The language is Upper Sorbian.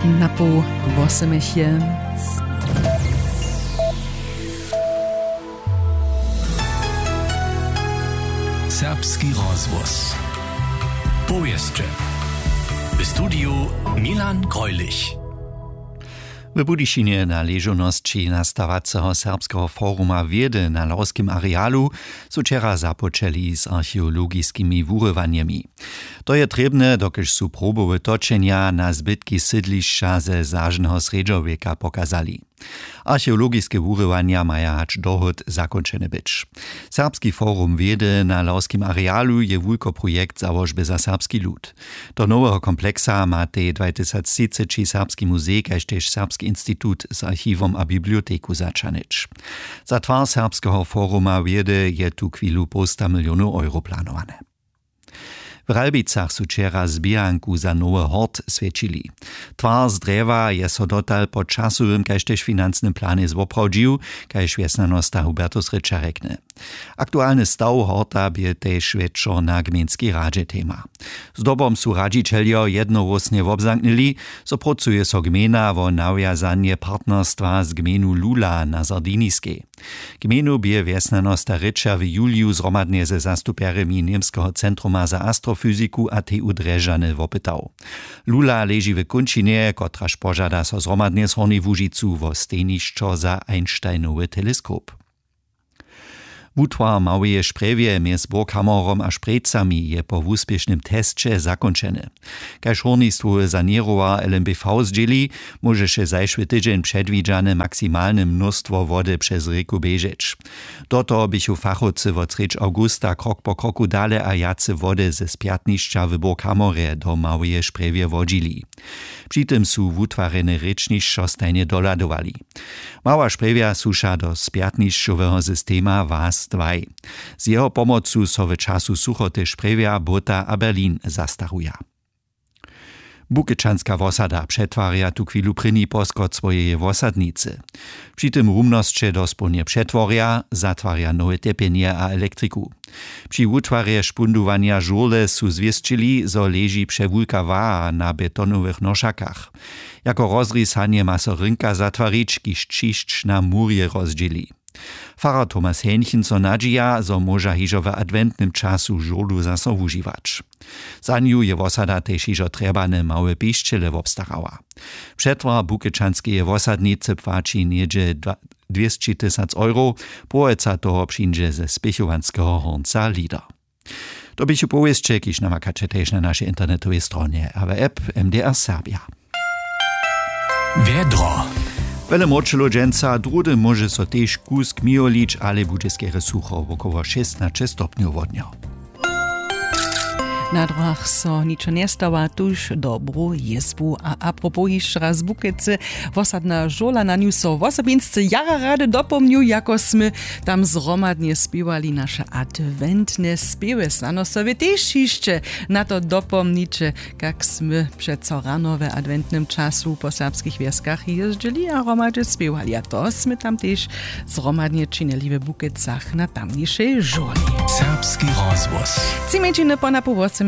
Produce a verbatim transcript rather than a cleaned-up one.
Na poł wosomich je. Serbski rozhłos. Powěsće. W studiju Milan Greulich. W Budyšinje na ležownosći nastawaceho Serbskeho foruma wědy na lawskim arealu su wčera započeli z archeologiskimi wurywanjemi. To je trěbne, dokelž su probowe točenja na zbytki sydlišća ze zažneho srjedźowjeka pokazali. Archeologiske wurywanja maja hač dohód zakónčene być. Serbski forum wědy na lawskim arealu je wulkoprojekt załožby za serbski lud. Do noweho kompleksa ma tej dwatysactřiceći Serbski muzej kaž tež Serbski institut z archiwom a biblioteku zaćahnyć. Za twar serbskeho foruma wědy je tuchwilu połsta milionow euro planowane. W Ralbicach su wčera zběhanku za nowy hort swjećili. Twar z drjewa je so dotal po časowym kaž tež financnym planje zwoprawdźił, kaž wjesnjanosta Hubertus Rěča rjekny. Aktualny staw horta bě tež wjetšo na gmejnskej radźe tema. Zdobom su radźićeljo jednohłósnje wobzamknyli, zo prócuje so gmejna wo nawjazanje partnerstwa z gmejnu Lula na Sardiniskej. Gmejnu bě wjesnjanosta Rěča w juliju zhromadnje ze zastupjerjemi Němskeho centruma za astrofyziku a T U Drježdźany wopytał. Lula leži w kónčinje, kotraž požada so zhromadnje z Hornjej Łužicu wo stejnišćo za Einsteinowy teleskop. Wutwar w Małeje Sprjewje mjez Burghammerom a Sprjejcami je po wuspěšnym tesće zakónčeny. Kaž hórnistwowy saněrowa L M B V zdźěli, móžeše zašły tydźeń předwidźane maksimalne mnóstwo wody přez rěku běžeć. Do toho běchu fachowcy wot srjedź awgusta krok po kroku dale a wjace wody ze spjatnišća w Burghammerje do Małeje Sprjewje wodźili. Při tym su wutwarjene rěčnišćo stajnje dohladowali. Mała Sprjewja słuša do spjatnišćoweho systema was dwaj. Z jeho pomocu so w času suchoty Sprjewja, Bóta a Berlin zastaruja. Bukečanska wosada přetwarja tuchwilu prěni poskot swojeje wosadnicy. Při tym rumnosće dospołnje přetworja, zatwarja nowe tepjenje a elektriku. Při wutwarje špundowanja žurle su zwěsćili, zo leži přewulka waha na betonowych nošakach. Jako rozrisanje ma so rynka zatwarić, kiž ćišć na murje rozdźěli. Farar Thomas Henchen so nadźija, zo móža hižo w adwentnym času žurlu zaso wužiwać. Za nju je wosada tež hižo trjebane małe pišćele wobstarała. Přetwar bukečanskeje wosadnicy płaći něhdźe dwa-, dwěsći tysac euro, połojca toho přińdźe ze spěchowanskeho hornca Lieder. To běchu powěsće, kiž namakaće tež na našej internetowej stronje a w app M D R Serbia. Wjedro. Wjele mróčelow dźensa, druhdy móže so tež kusk mijolić, ale budźe skerje sucho, wokoło šěsnaće stopnjow wodnjo. Na dróhach so ničo njestawa, tuž dobru jězbu. A apropos hišće raz Bukecy, wosadna žurla, na nju so wosobinsce jara rady dopomnju, jako smy tam zhromadnje spěwali naše adwentne spěwy. Snano so wy tež hišće na to dopomniće, kak smy přeco rano w adwentnym času po serbskich wjeskach jězdźili a hromadźe spěwali. A to smy tam tež zhromadnje činili w Bukecach na tamnišej žurli. Serbski rozhłos. Tři mjeńšiny po napoł wosomich.